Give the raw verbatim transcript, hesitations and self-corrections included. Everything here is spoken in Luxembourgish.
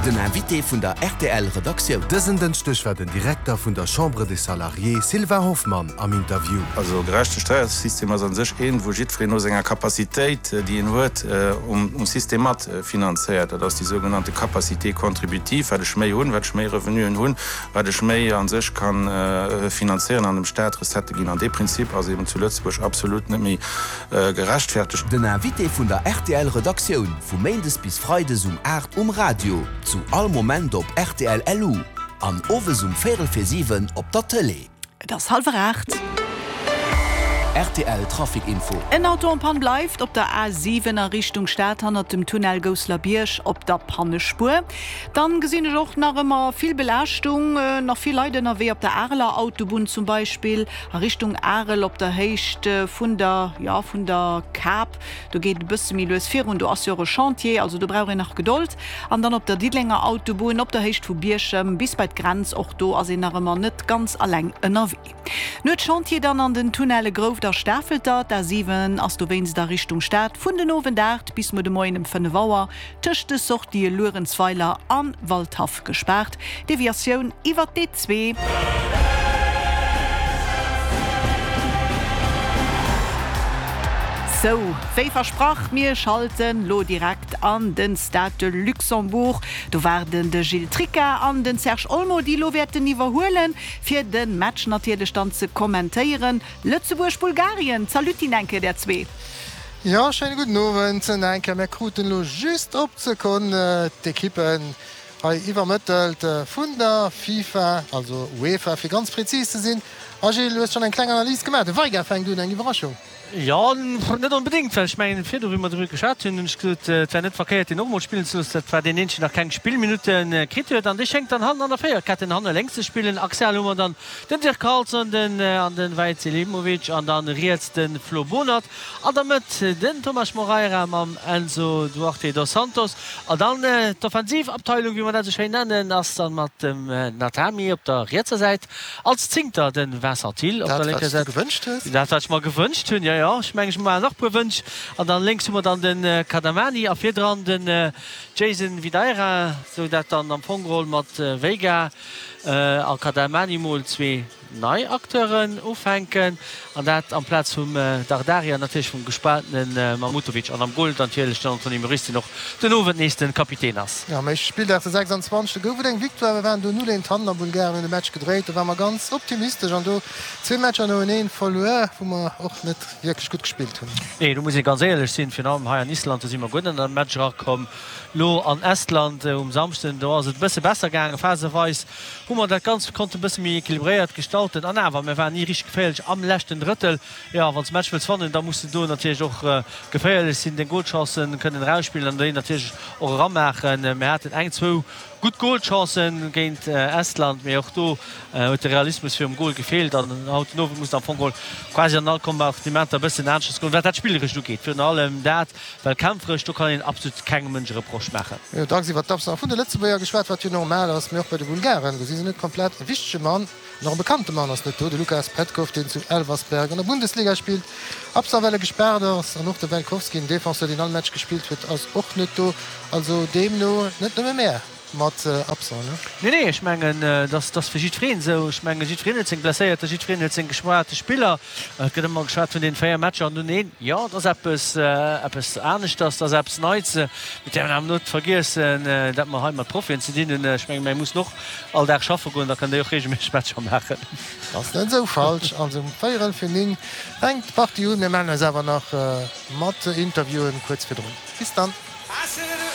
Den Invité vun der rtl Redaktioun. Dësen Dënschdeg war den Direkter vun der Chambre des Salariés Sylvain Hoffmann am Interview. Also e gerechte Steiersystem ass a sech een, wou jiddwereen no senger Capacitéit, déi en huet, um System mat finanzéiert. Dat ass déi sougenannte Capacité contributive, wat ech méi hunn, wat ech méi Revenuen hunn, wat ech méi a sech ka finanzéieren an dem Staat Recettë ginn. An dee Prinzip ass eben zu Lëtzebuerg absolut net méi gerechtfertegt. Den Invité vun der rtl Redaktioun, vu méindes bis freides um aacht um Radio, zu all Moment op rtl LU an owes um véierel vir siwen op der Tëlee. Et ass hallwer aacht. Rtl Trafic Info. En Auto en panne bleift op der A siwen a Richtung Stad hannert dem Tunnel Gousselerbierg op der Pannespuer. Dann gesinn ech och nach ëmmer vill Belaaschtung, nach vill Leit ënnerwee op der Areler Autobunn zum Beispill a Richtung Arel op der Héicht vun der, jo, vun der Kap. Do geet et e bësse méi lues virun, do ass jo och e Chantier, also do brauch een nach Gedold. An dann op der Diddelenger Autobunn op der Héicht vu Bierchem bis bei d'Grenz, och do ass een nach ëmmer net ganz alleng ënnerwee. Nuetschantier dann an den Tunnelle Grouft a Stafelter. D'a siwen ass dowéinst a Richtung Stad vun den Owend aacht bis muer de Moien ëm fënnef Auer tëscht de Sortië Luerenzweiler a Waldhaff gespaart. Deviatioun iwwer d'E zwee. Sou, wéi versprach, mir schalten lo direkt an den Stade de Luxembourg. Do waarden de Gilles Tricca an den Serge Olmo, déi lo wäerten iwwerhuelen, fir de Match natierlech dann ze kommentéieren. Lëtzebuerg-Bulgarien. Zaluttin eng Kéier där zwee. Jo, schéine gudden Owend nach eng Kéier. Mir kruten elo just op d'Sekonn d'Ekippen hei iwwermëttelt vun der FIFA, also UEFA fir ganz prezis ze sinn. A Gilles, du hues schonn eng kleng Analys gemaach. De Veiga fänkt un, eng Iwwerraschung. Jo, net onbedéngt, well ech mengen, virdu wéi mer driwwer geschwat hunn, hunn ech gesot, et wär net verkéiert, deen och emol spillen ze loossen. Dat war deen eenzegen, deen nach keng Spillminutte kritt huet. An dee schéngt dann hannen an der Véierketten hanne lénks ze spillen. Axial hu mer dann den Dirk Carlson, den an den Vahid Selimovic an dann riets de Flo Bohnert. An der Mëtt den Tomas Moreira mam Enzo Duarte dos Santos. An dann d'Offensivabteilung, wéi mer dat esou schéin nennen, ass dann mat dem Natami op der rietser Säit, als Zéngter de Vincent Thill op der lénker Säit. Dat wat ech mer gewënscht hunn, jo jo, ech mengen ech maachen nach e puer Wënsch. An dann lénks hu mer dann de Kadamani a virdran den Jason Videira, sou dat dann am Fong geholl mat Veiga a Kadamani mol zwee nei Acteuren ufänken an dat amplaz vum Dardari an natierlech vum gespaantene Mahmutovic an am Goal natierlech den Anthony Moris, deen och den Owend nees de Kapitän ass. Jo, am éischte Spilldag, de sechsanzwanzegste gouf et eng Victoire. Mir waren do null eent hannen a Bulgarien hunn de Match gedréit. Do ware mer ganz optimistesch an do zwee Matcher noeneen verluer, wou mer och net wierklech gutt gespillt hunn. Nee, do muss ee ganz éierlech sinn, virun allem hei an Island, do si mer guer net an de Match erakomm. Lo an Estland um Samschden, do ass et e bësse besser gaangen. Phaseweis hu mer dat Ganzt konnten e bësse méi equilibréiert gestalten. An awer, mir waren ni richteg geféierlech am leschten Drëttel. Jo, wann s de Match wëlls wannen, da muss de do natierlech och geféierlech sinn, deng Golchancen kënnen erausspillen an déi natierlech och eramaachen. Mir haten eng, zwou gutt Golchancen géint Estland, mee och do huet de Realismus virum Gol gefeelt. An haut den Owend muss et am Fong geholl quasi an all Kompartimenter e bëssen aneschters goen, wat dat Spillerescht ugeet. Virun allem dat, well kämpferesch, do kann een absolut kengem Mënsch e Reproche maachen. Mir hunn dacks iwwer d'Absence vun de Lëtzebuerger geschwat, wat jo normal ass, mee och bei de Bulgaren, do si se net komplett. E wichtege Mann an och e bekannte Mann ass net do, de Lukas Petkov, deen zu Elversberg an der Bundesliga spillt, absent well e gespaart ass. An och de Velkovski, en Defenseur, deen all Match gespillt huet, ass och net do. Also deemno net nëmme mär. Mat Absent, ne? Nee, nee, ech mengen, dat ass fir jiddwereen esou. Ech mengen, jiddwereen huet seng Blesséierter, jiddwereen huet seng gespaarte Spiller. Et gëtt ëmmer geschwat vun deenen véier Matcher an dunn een. Jo, dat ass eppes, eppes aneschters, dat ass eppes Neits. Mir däerfen awer net vergiessen, dat mer hei mat Profien ze dinn hunn. Ech mengen, mir mussen och all Dag schaffe goen, da kënnen déi och reegelméisseg Matcher maachen. Dat ass net esou falsch. Also um véierel fir néng fänkt d'Partie un. Mir mellen eis awer nach mat Interviewen kuerz virdrun. Bis dann.